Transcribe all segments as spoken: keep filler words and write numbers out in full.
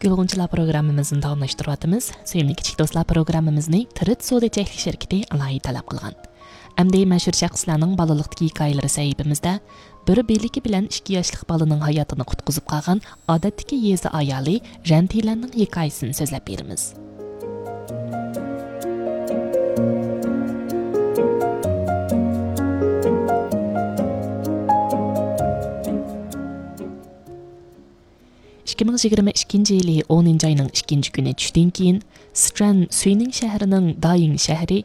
گۈل غۇنچىلار پروگراممىمىزنى داۋاملاشتۇرۇۋاتىمىز. سۆيۈملۈك كىچىك دوستلار پروگراممىمىزنى تىرىت سودا چەكلىك شىركىتى ئالاھىدە تەلەپ قىلغان. ئەمدى مەشھۇر شەخسلەرنىڭ بالىلىقتىكى ھېكايىلىرى سەھىپىمىزدە بىر بىلىكى بىلەن ئىككى ياشلىق بالىنىڭ ھاياتىنى قۇتقۇزۇپ قالغان ئادەتتىكى يېزا ئايالى رەنتىلەننىڭ ھېكايىسىنى سۆزلەپ بېرىمىز. ئىككى مىڭ يىگىرمە ئىككىنچى يىلى ئونىنچى ئاينىڭ ئىككىنچى كۈنى چۈشتىن كېيىن، سىچۈەن سۈينىڭ شەھىرىنىڭ دايىڭ شەھىرى،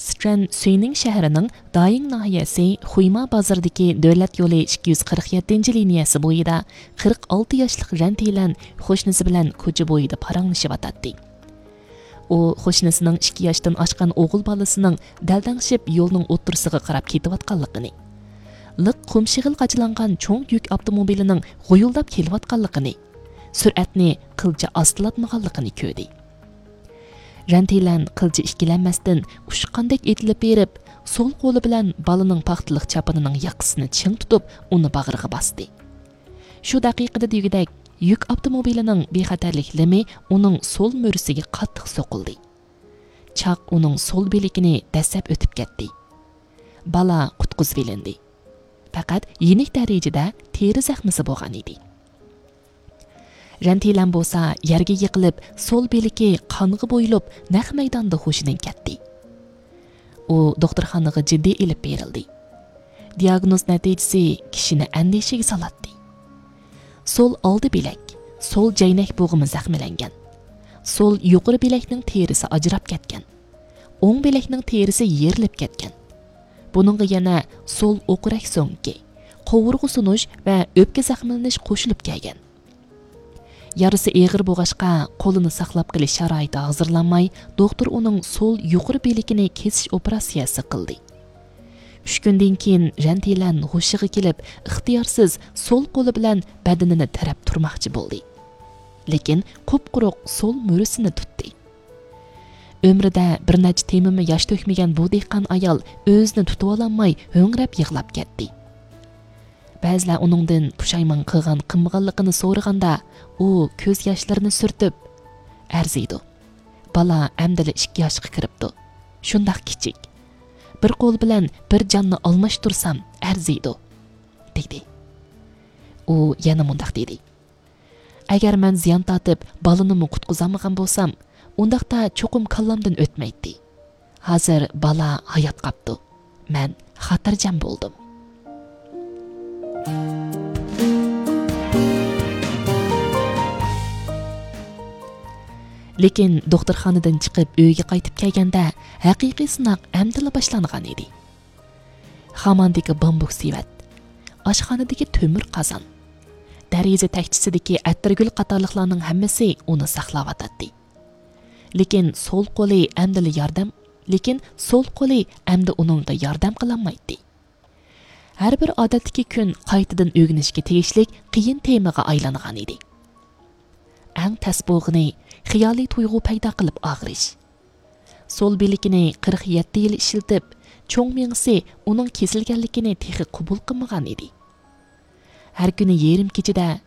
سىچۈەن سۈينىڭ شەھىرىنىڭ دايىڭ ناھىيەسى خۇيما بازىرىدىكى دۆلەت يولى ئىككى يۈز قىرىق يەتتىنچى لىنىيەسى بويىدا قىرىق ئالتە ياشلىق رەنتىلەن قوشنىسى بىلەن كوچا بويىدا پاراڭلىشىۋاتاتتى. ئۇ قوشنىسىنىڭ ئىككى ياشتىن ئاشقان ئوغۇل بالىسىنىڭ دەلدەڭشىپ يولنىڭ ئوتتۇرىسىغا قاراپ كېتىۋاتقانلىقىنى، لىق قۇم شېغىل قاچىلانغان چوڭ يۈك ئاپتوموبىلىنىڭ غۇيۇلداپ كېلىۋاتقانلىقىنى، سۈرئەتنى قىلچە ئاستىلاتمىغانلىقىنى كۆردى. رەنتىلەن قىلچە ئىككىلەنمەستىن ئۇچقاندەك ئېتىلىپ بېرىپ، سول قولى بىلەن بالىنىڭ پاختىلىق چاپىنىنىڭ ياقىسىنى چىڭ تۇتۇپ، ئۇنى باغرىغا باستى. شۇ دەقىقىدە دېگۈدەك يۈك ئاپتوموبىلىنىڭ بىخەتەرلىك لىمى ئۇنىڭ سول مۈرىسىگە قاتتىق سوقۇلدى. چاق ئۇنىڭ سول بىلىكىنى دەسسەپ ئۆتۈپ كەتتى. بالا قۇتقۇزۇۋېلىندى. پەقەت يېنىك دەرىجىدە تېرە زەخمىسى بولغان ئىدى. رەنتىلەن بولسا يەرگە يىقىلىپ، سول بىلىكى قانغا بويىلىپ، نەق مەيداندا ھوشىدىن كەتتى. ئۇ دوختۇرخانىغا جىددىي ئېلىپ بېرىلدى. دىئاگنوز نەتىجىسى كىشىنى ئەندىشىگە سالاتتى. سول ئالدى بىلەك، سول جەينەك بوغۇمى زەخىملەنگەن. سول يۇقىرى بىلەكنىڭ تېرىسى ئاجراپ كەتكەن. ئوڭ بىلەكنىڭ تېرىسى يېرىلىپ كەتكەن. بۇنىڭغا يەنە سول ئوقرەك سۆڭىكى، قوۋۇرغا سۇنۇش ۋە ئۆپكە زەخىملىنىش قوشۇلۇپ كەلگەن. يارىسى ئېغىر بولغاچقا، قولىنى ساقلاپ قېلىش شارائىتى ھازىرلانماي، دوختۇر ئۇنىڭ سول يۇقىرى بىلىكىنى كېسىش ئوپېراتسىيەسى قىلدى. ئۈچ كۈندىن كېيىن رەنتىلەن ھوشىغا كېلىپ، ئىختىيارسىز سول قولى بىلەن بەدىنىنى تىرەپ تۇرماقچى بولدى. لېكىن قۇپقۇرۇق سول مۈرىسىنى تۇتتى. ئۆمرىدە بىر نەچچە تېمىمۇ ياش تۆكمىگەن بۇ دېھقان ئايال ئۆزىنى تۇتۇۋالالماي ھۆڭرەپ يىغلاپ كەتتى. بەزىلەر ئۇنىڭدىن پۇشايمان قىلغان قىلمىغانلىقىنى سورىغاندا، ئۇ كۆز ياشلىرىنى سۈرتۈپ، «ئەرزىيدۇ. بالا ئەمدىلا ئىككى ياشقا كىرىپتۇ. شۇنداق كىچىك. بىر قول بىلەن بىر جاننى ئالماشتۇرسام ئەرزىيدۇ»، دېدى. ئۇ يەنە مۇنداق دېدى: «ئەگەر مەن زىيان تارتىپ، بالىنىمۇ قۇتقۇزالمىغان بولسام، ئۇنداقتا چوقۇم كاللامدىن ئۆتمەيتتى. ھازىر بالا ھايات قاپتۇ. مەن خاتىرجەم بولدۇم.» لېكىن دوختۇرخانىدىن چىقىپ ئۆيگە قايتىپ كەلگەندە، ھەقىقىي سىناق ئەمدىلا باشلانغان ئىدى. خاماندىكى بامبۇك سېۋەت، ئاشخانىدىكى تۆمۈر قازان، دېرىزە تەكچىسىدىكى ئەتىرگۈل قاتارلىقلارنىڭ ھەممىسى ئۇنى ساقلاۋاتاتتى. لېكىن سول قولى ئەمدىلا ياردەم، لېكىن سول قولى ئەمدى ئۇنىڭغا ياردەم قىلالمايتتى. ھەر بىر ئادەتتىكى كۈن قايتىدىن ئۆگىنىشكە تېگىشلىك قىيىن تېمىغا ئايلانغان ئىدى. ئەڭ تەس بولغىنى خىيالىي تۇيغۇ پەيدا قىلىپ ئاغرىش. سول بىلىكىنى قىرىق يەتتە يىل ئىشلىتىپ، چوڭ مېڭىسى ئۇنىڭ كېسىلگەنلىكىنى تېخى قوبۇل قىلمىغان ئىدى. ھەر كۈنى يېرىم كېچىدە